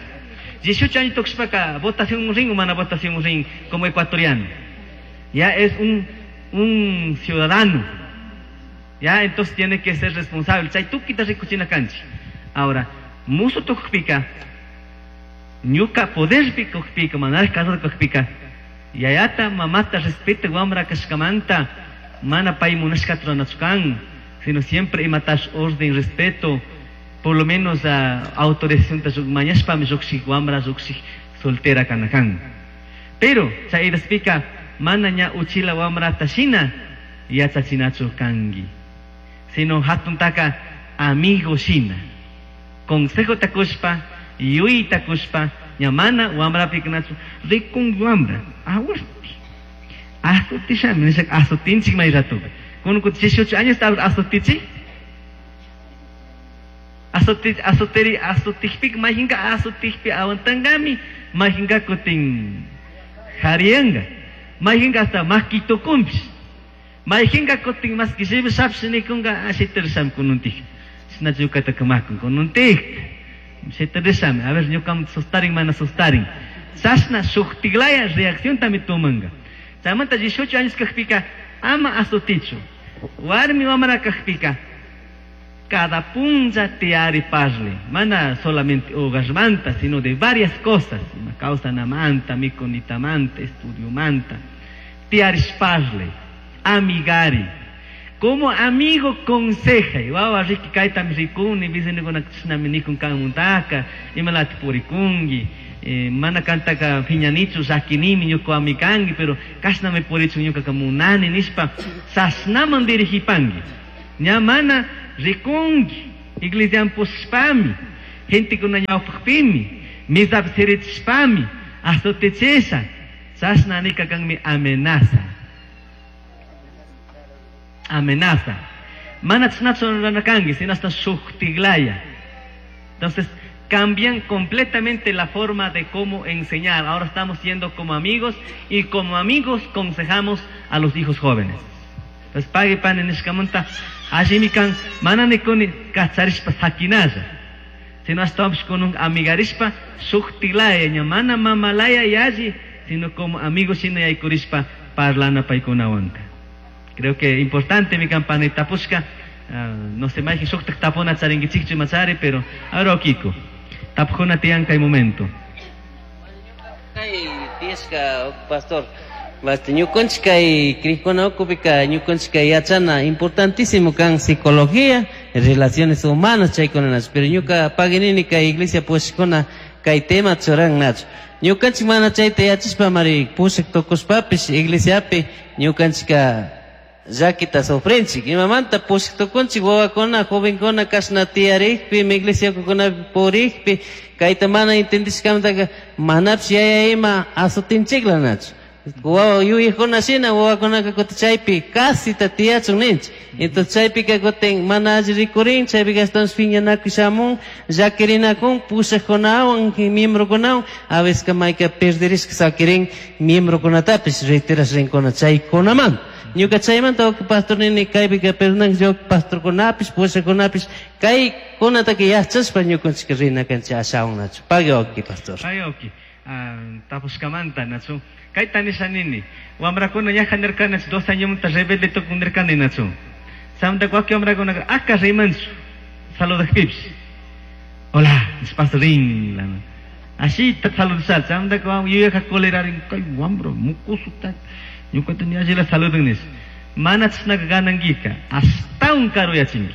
Speaker 1: 18 años tukushpaka votación rin o mana votación rin como ecuatoriano. Ya es un ciudadano. Ya, entonces tiene que ser responsable. Chay tukita rikuchina kanchik. Ahora, musu tukpika, ñuka poderpi kukpika, manar casado kukpika, yayata mamata respeta wamra kashkamanta, mana pay munashka tranachukan, sino siempre imatash orden, respeto, por lo menos a autorización ta shuk mañashpami shukshik wamra shukshik soltera kanakan. Pero, chay idaspika, mana ña uchila wamra tashina, yachachinachu kangi. Sino hatuntaka amigo shina. Consejo takushpa, yui takushpa, ña mana wamra piknachu, rikun wamra, aguasti. Azutishami, nishak azutinchik may ratu. Kunu kuti 18 años ta azutichi? Azuti, azuteri, azutijpik, mayhinka azutijpi awantangami, mayhinka kutin jarianga. Mayhinka hasta makitukumpish. Mayhinka kutin mas kishibi shapshinikunga ashiterisham kununtij. Shina yukata kamakun kununtij. Shiterishami, a ver, ñukam sustarin, mana sustarin. Chashna shuktiglaya reacción tami tumanga. Chaymanta 18 años kajpika ama azutichu. Warmi wamra kajpika cada punlla tiyari parle. Mana solamente hogarmanta, sino de varias cosas. Ima kawsanamanta, mikunitamanta, estudiomanta. Tiyarish parle, amigari. Como amigo conseja, wawa riki kaytami rikuni, vecinukunaka chishnami nikun kanmuntaka, imalati purikunki, mana kantaka phiñanichu, llakinimi ñuka kanki, pero kashnami purichun ñukaka munani nishpa, sasnaman dirigipanki. Ña mana rikunki, iglesian pushpami, gentekuna ñawpakpimi, misapi sirichishpami, azotechisha, chashna nika kanmi amenaza. Amenaza. Mana chashnachu rurana kanki, sino hasta shuktiglaya. Entonces, cambian completamente la forma de cómo enseñar. Ahora estamos siendo como amigos y como amigos consejamos a los hijos jóvenes. Entonces, pague pan en nishkamanta, allimi kan, mana nikuni kacharishpa sakinalla. Sino estamos con un amigarishpa shuktilaya, ña mana mamalaya yalli, sino como amigos shina yaykurishpa parlana paykunawanka. Creo que importante mi campana tapushka, no sé, mayqin shuktak tapuna charinkichikchu imachari, pero ahora Kiko, tapujuna tiyan kay momento.
Speaker 4: Kay tiyashka pastor, basta ñukanchik kay crikuna ukupika ñukanchik kay yachana importantísimo kan psicología, relaciones humanas chaykunanachu, pero ñuka paginini kay iglesia pushkuna kay tema churan nachu. Ñukanchik mana chayta yachashpa mari pushak tukushpapish iglesiapi ñukanchika llakita sufrinchik. Imamanta pushak tukunchik wawakuna, jovenkuna kashna tiyarikpi, iglesia ukukunapi purikpi, kayta mana entendishkamantaka manapish yaya ima azotinchikla nachu. Wawa yuyajkuna shina wawakunaka kutin chaypi casita tiyachun ninchik. Entonces chaypika kutin mana alli rikurin, chaypika ashtawanpish piñanakuy shamun, llakirinakun, pushakkunawan, miembrokunawan, a veces mayka perdirishka sakirin miembrokunatapish retirash rinkuna chaykunamanta. Ñuka chaymanta wawqi pastor nini kaypika perdonanki wawqi pastorkunapish, pushakkunapish, kaykunataka yachashpa ñukanchik rina kanchik ashawan nachu. Pagui wawqi pastor.
Speaker 1: Pagui wawqi. Tapushkamanta nachu. Kayta nisha nini, wamrakuna ñaja nirkani 2 añomanta rebelde tukun nirkani nachu. Chaymanta wakin wamrakunaka aka rimanchu, saludajpipish. Hola, nishpas rin, lana. Ashita saludashal, chaymanta yuyaka colerarin, kay wamra, mukusuta, ñukata ni allila saludan nish. Mana chashnaka ganankika, ashtawan karuyachinki.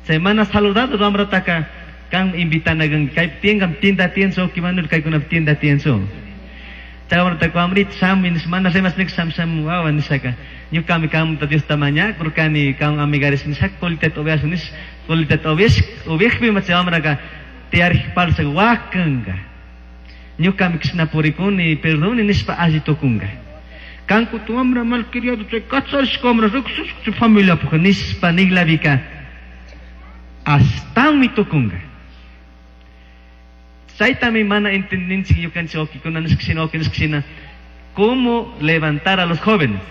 Speaker 1: Chay mana saludado wamrataka, kan invitanagan, kay tiengan tienda tienzo, kimanul kaykunapi tienda tienzo. Chay wamrataka wamrita shami nish, mana rimas nik sham sham wawa nishaka. Ñukami kamta Diosta mañakurkani, kan amigaris nishaka, colitata ubiashun nish, colitata ubiash, ubiajpi ma chay wamraka tiyarij parsa wakanka. Ñukami kishna purikuni, perdoni nishpa alli tukunka. Kanku tu wamra malcriado, chay kacharishka wamra, riqsishka chay familiapuk nishpa niglabika, ashtawanmi tukunka. Chaytami mana entendinchik ñukanchik wawqikuna nishka shina, wawqi nishka shina, cómo levantar a los jóvenes,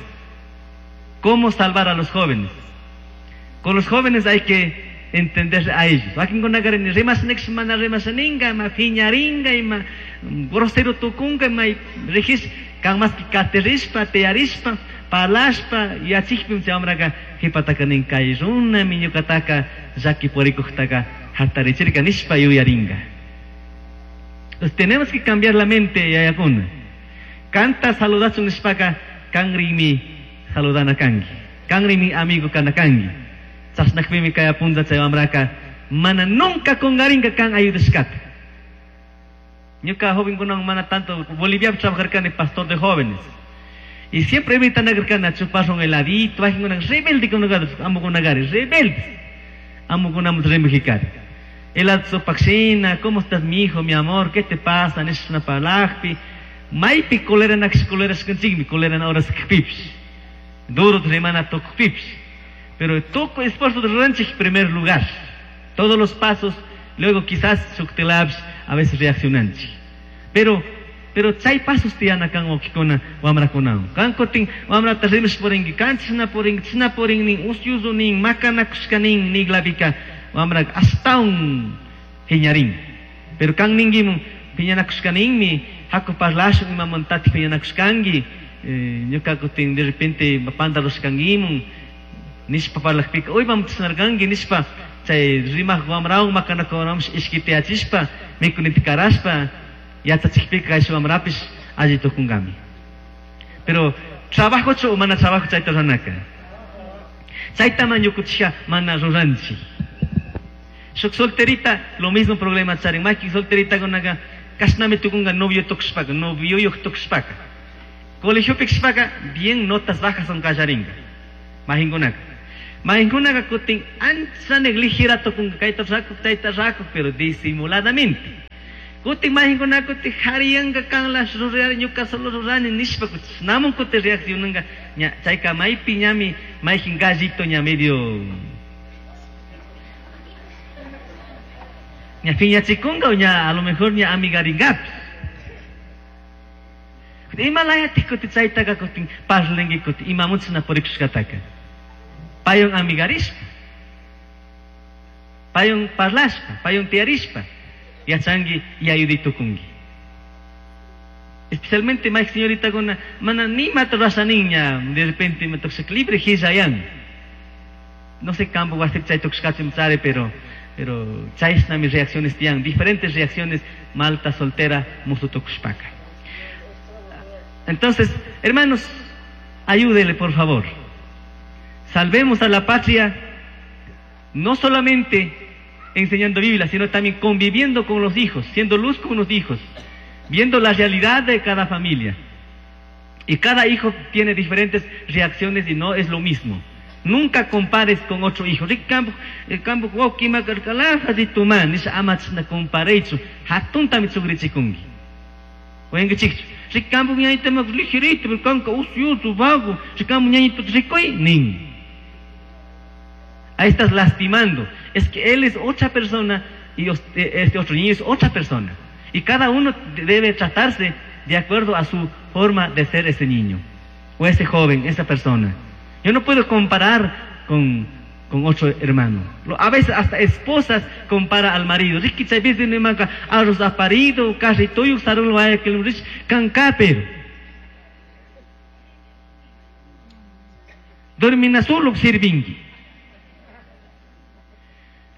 Speaker 1: cómo salvar a los jóvenes. Con los jóvenes hay que entender a ellos. Wakinkunaka ni rimas nik mana rimas ninga, ma phiñaringa, ima grosero tukunga, ima rigis, kan mas katerishpa, tearishpa, palashpa, yachikpim chay wamraka qhipataka nin kay runami ñukataka llaki purikuqtaka hatarichirka nishpa yuyaringa. Entonces tenemos que cambiar la mente, yayakuna. Kanta saludachun nishpaka, kanrimi saludana kanki. Kanrimi amigo kana kanki. Chashnakpimi kay punlla chay wamraka mana nunca kungarinka kan ayudashkata. Ñuka jovenkunawan mana tanto, Boliviapi trabajarkani pastor de jóvenes. Y siempre invitan a a chupar un heladito, bajen una rebelde con lugar, amo con agarre, rebelde. Amo con amo rebelde. Helado sopaxina, ¿cómo estás, mi hijo, mi amor? ¿Qué te pasa? Es una palajpi. Maipi colera nax colera skanchigmi, colera na horas kpips. Duro remana tokpips. Pero toco esfuerzo de ranchik en primer lugar. Todos los pasos, luego quizás shuktilabs, a veces reaccionanchi. Pero chay pasos tiyana kan wawqikuna wamrakunawan. Kan kutin wamrata rimash purinki, kan chishna purinki, chishna purin nin, usyuzu nin, makanakushka nin, niglapika wamraka ashtawan phiñarin. Pero kan ninkimun phiñanakushka ninmi, haku parlashun imamantatik phiñanakushkanki, Ñuka kutin de repente panda rushkangimun nishpa parlakpika uy mamtisnarkanki nishpa chay rimaq wamrawan makanakuwanamish ishkitiyachishpa mikunita karashpa yachachikpika kayshi wamrapish alli tukunkami. Pero trabajochu o mana trabajo chayta ruranaka. Chaytama ñukuchija mana ruranchik. Shuk solterita lo mismo problema charin. Maki solteritakunaka kashnami tukunka novio tukushpaka, novioyuq tukushpaka. Colegiopi kashpaka bien notas bajas son kallarinka. Mahinkunaka. Mahinkunaka kutin ancha negligera tukunka kayta rakuq, chayta rakuq, pero disimuladamente. Kutin mahinkunaka kutin hariyanka kanla rurari ñuka solo rurani nishpa namun kutin reaccionanka ña chayka maypi ñami mayjin gallito ña medio ña phiñachikunka o ña a lo mejor ña amigarinkapish. Ima layatik kutin chaytaka kutin parlanki kutin imamunchina purikushkataka. Paywan amigarishpa, paywan parlashpa, paywan tiyarishpa, yachanki y ayudai tukunki. Especialmente may señoritakuna mana nimata rurashanin ña de repente ima tukushaka libre hillayan. No sé campo wasipi chay tukushkachu chari, pero chayshnami reacciones tiyan, diferentes reacciones malta soltera musu tukushpaka. Entonces, hermanos, ayúdele por favor. Salvemos a la patria no solamente enseñando Biblia, sino también conviviendo con los hijos, siendo luz con los hijos, viendo la realidad de cada familia. Y cada hijo tiene diferentes reacciones y no es lo mismo. Nunca compares con otro hijo. Ahí estás lastimando. Es que él es otra persona y este otro niño es otra persona. Y cada uno debe tratarse de acuerdo a su forma de ser ese niño, o ese joven, esa persona. Yo no puedo comparar con otro hermano. A veces hasta esposas compara al marido. Dormina solo sirvingi.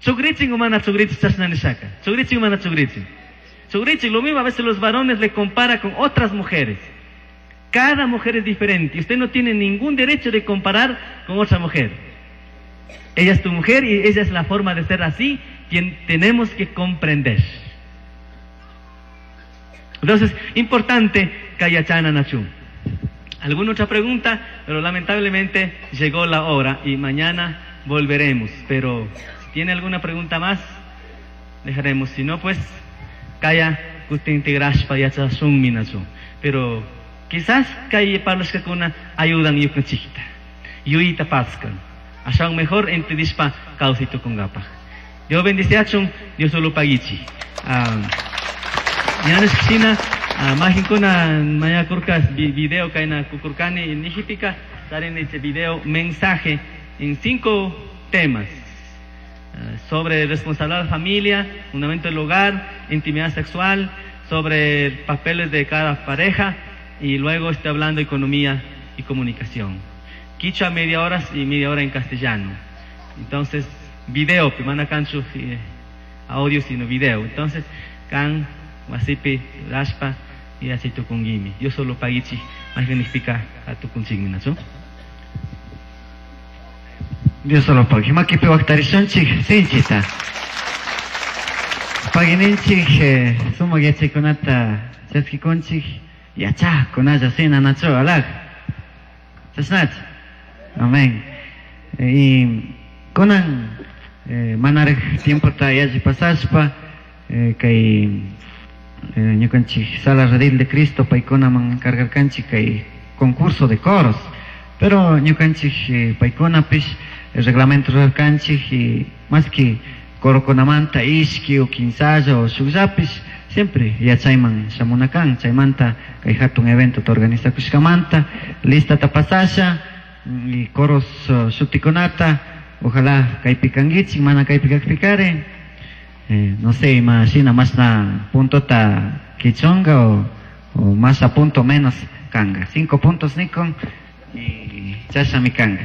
Speaker 1: Chugriching o mana chugriching chasna nishaka. Chugriching o mana chugriching. Chugriching, lo mismo a veces los varones le compara con otras mujeres. Cada mujer es diferente y usted no tiene ningún derecho de comparar con otra mujer. Ella es tu mujer y ella es la forma de ser así, quien tenemos que comprender. Entonces, importante, Kayachana Nachum. ¿Alguna otra pregunta? Pero lamentablemente llegó la hora y mañana volveremos. Pero si tiene alguna pregunta más, dejaremos. Si no, pues, Kaya kutintigrashpa yachashunmi nachu. Pero quizás kay parlashkakuna ayudan ñukanchikta, yuyita paskan. Ashawan mejor entendishpa kawsay tukunkapaq. Dios bendiciachun, Dios solo pagichi. Ñanishkashina majinkuna mañakurka video kayna kukurkani nijipika charini chay video mensaje en 5 temas. Sobre responsabilidad de la familia, fundamento del hogar, intimidad sexual, sobre papeles de cada pareja y luego estoy hablando de economía y comunicación. Quichua media hora y media hora en castellano. Entonces, video, mana kanchu audio sino video. Entonces, kan wasipi rashpa y así tukungimi. Yo solo pagichi, más significa a tukunchigmi, ¿no?
Speaker 5: Dios solo pagi. Makipi waqtarishunchik sinchita. Pagininchik sumaq yachaykunata chaskikunchik yachaqkunalla sinanachu alaq. Chashnach. Amén. Y kunan manaraq tiempota yalli pasashpa kay ñukanchik Sala Redil de Cristo paykunaman cargarkanchik kay concurso de coros. Pero ñukanchik paykunapish el reglamento rurarkanchik y más que corokunamanta ishki o kinsalla o shukllapish siempre yachayman shamunakan chaymanta kay hatun evento ta organizakushkamanta listata pasasha y coros shutikunata ojalá kaypi kankichik mana kaypi kakpikari no sé ima shina mashna puntota kichunka o más a punto menos kanga. 5 puntos nikon y chashami kanga.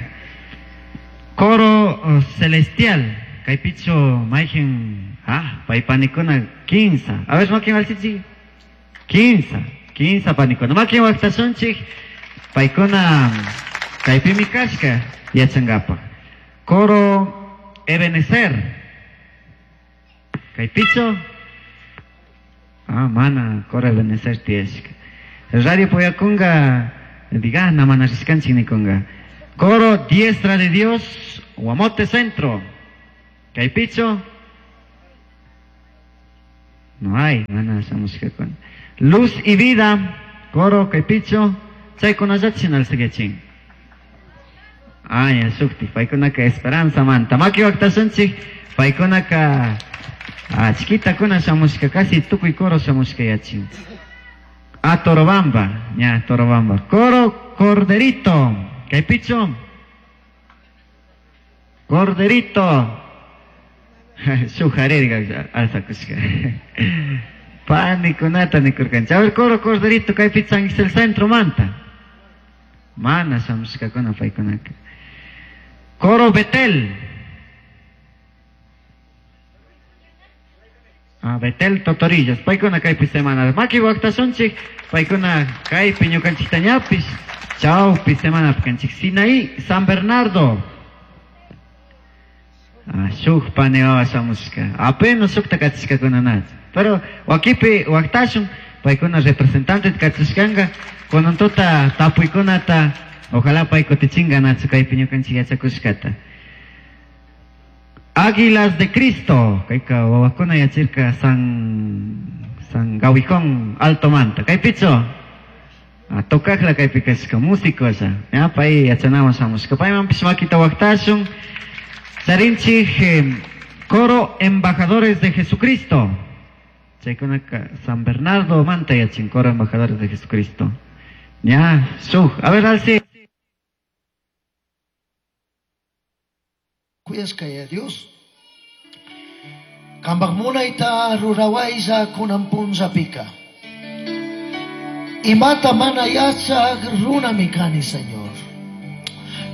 Speaker 5: Coro celestial, kaypichu mayqin paypanikuna 15. A ver, makin alsichi. 15 panikuna. Makin waqtasunchik paykuna kaypimi kashka yachankapaq. Coro Ebenezer. Kaypichu? Mana coro Ebenezer tiyashka. Radio Poyakunga, digana mana rishkanchik nikunga. Coro Diestra de Dios, Guamote Centro. Kaypichu? No hay, mana shamushkakuna. Luz y Vida, coro kaypichu? Chaykunallachin alsagachin. Ya shukti, paykunaka Esperanza manta. Maki waqtasunchik, paykunaka chiquitakuna shamushka, casi tukuy coro shamushka yachin. Torobamba, ya, Torobamba. Coro Corderito, kaypichu? Corderito. Shujarirga alzakushka. Panikunata nikurkanchik. A ver, coro Corderito, kaypi San el Centro manta. Mana shamushkakuna paykunaka. Coro Betel. Betel Totorillas. Paykuna kaypi semana. Maki waqtasunchik, paykuna kaypi ñukanchiktañapis. Chawpi semana kanchik. Sinaí, San Bernardo. Shuk pani wawa shamushka. Apenas shukta kachishkakuna nach. Pero wakipi waqtashun, paykuna representante kachishkanka, kunantuta tapuykunata, ojalá pay kutichinga nachu kaypi ñukanchik yachakushkata. Águilas de Cristo, kayka wawakuna yachirka San Gawijón Alto Manta. Kaypichu? Tocajla kaypi kashka, músico asa. Ya, pay yachanawan shamushka. Paymanpish makita waqtashun. Charinchik, coro Embajadores de Jesucristo. Chaykunaka San Bernardo Manta yachin, coro Embajadores de Jesucristo. Ya, shuj. A ver, alce.
Speaker 6: Kuyashkaya Dios. Kambak munayta rurawaysa kunan punzapika. Imata mana yachaq runami kani, Señor.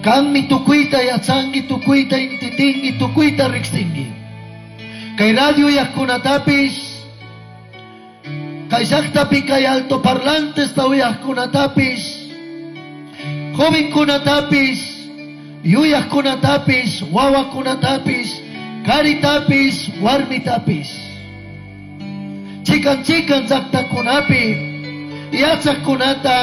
Speaker 6: Kanmi tukuyta yachangi, tukuyta intitingi, tukuyta riksingi. Kay radio yaqkunatapis, kay llaqtapi kay altoparlantes tawiyaqkunatapis, jovenkunatapis, yuyaqkunatapis, wawakunatapis, karitapis, warmitapis. Chikan chikan llaqtakunapi, yachaqkunata,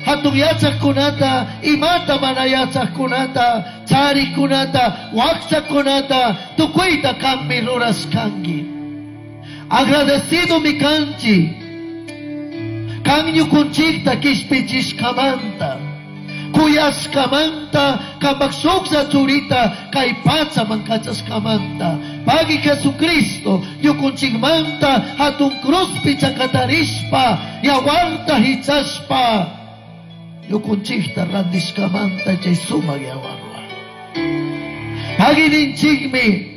Speaker 6: hatun yachaqkunata, imata mana yachaqkunata, charikunata, waqchakunata, tukuyta kanmi rurashkanki. Agradecido mi kanchi, kan ñukunchikta kishpichishkamanta, kuyashkamanta, kapak shuklla churita kay pachaman kachashkamanta. Pagui Jesucristo, ñukunchikmanta hatun cruzpi chakatarishpa, yawarta hichashpa, ñukunchikta randishkamanta chay sumaq yawarwa. Pagui ninchikmi,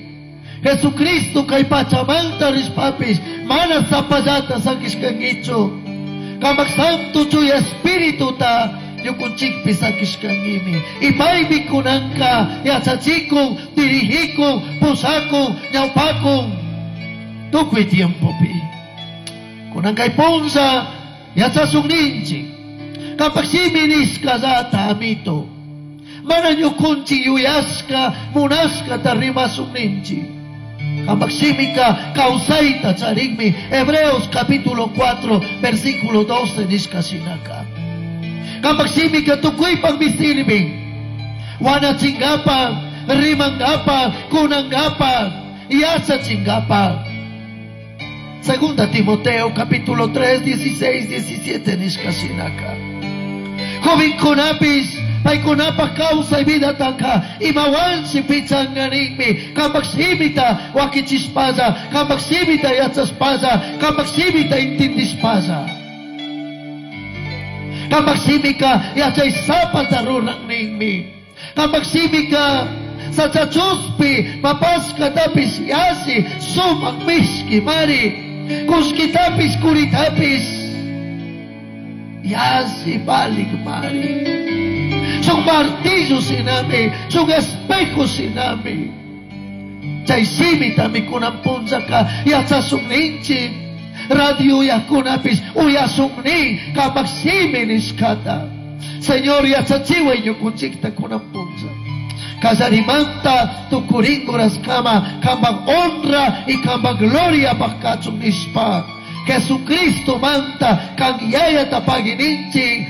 Speaker 6: Jesucristo kay pachamanta rishpapis, mana sapallata sakishkankichu, kamak santo chuya espirituta ñukunchikpi sakishkankimi. Y paymi kunanka yachachikun, dirigikun, pusakun, ñawpakun, tukuy tiempopi. Kunankay punlla yachasunninchik, kapak shimi nishkallata amito, mana ñukunchik yuyashka, munashkata rimasunninchik. Kapak shimika kawsayta charinmi, Hebreos capítulo 4, versículo 12 nishkashinaka. Kapak shimika tukuypaqmi sirvin, wanachingapaq, rimangapaq, kunangapaq, yachachingapaq. Segunda Timoteo capítulo 3, 16, 17 nishkashinaka. Jovenkunapis, paykunapaq kawsay vidatanka, imawansi pichanganinmi, kapak shimita wakichishpalla, kapak shimita yachashpalla, kapak shimita intindishpalla. Kapak shimika yachaysapata ruranninmi. Kapak shimika sachachuspi papaskatapis yasi sumaq mishki mari, kushkitapis kuritapis. Yalli valik mari. Shuk martillo shinami, shuk espejo shinami. Chay shimitami kunan punllaka yachashun ninchik. Radio uyakunapish uyasun nin kapak shimi nishkata. Señor yachachiway ñukunchikta kunan punlla. Kallarimanta tukurinkurashkama kampak honra y kampak gloria kachun nishpa. Jesucristo manta kan yayata pagui ninchik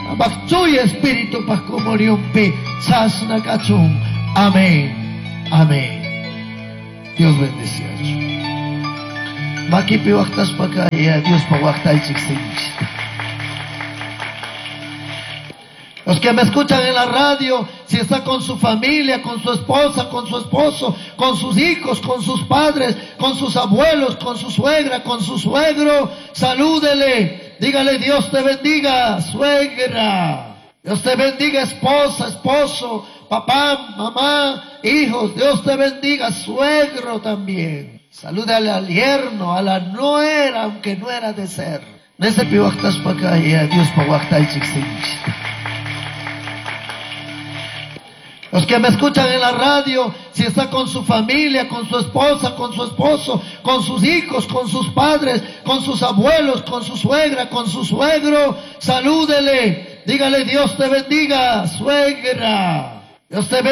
Speaker 6: kampak chuya espíritu pak comunionpi chashna kachun. Amén. Amén. Dios bendeciachu. Makipi waqtashpaka ya Diospa waqtaychik sinchita. Los que me escuchan en la radio, si está con su familia, con su esposa, con su esposo, con sus hijos, con sus padres, con sus abuelos, con su suegra, con su suegro, salúdele, dígale Dios te bendiga, suegra. Dios te bendiga, esposa, esposo, papá, mamá, hijos. Dios te bendiga, suegro también. Salúdale al yerno, a la nuera, aunque no era de ser. Nese pi waqtashpaka ya Diospa waqtaychik sinchita. Los que me escuchan en la radio, si está con su familia, con su esposa, con su esposo, con sus hijos, con sus padres, con sus abuelos, con su suegra, con su suegro, salúdele, dígale Dios te bendiga, suegra. Dios te bendiga.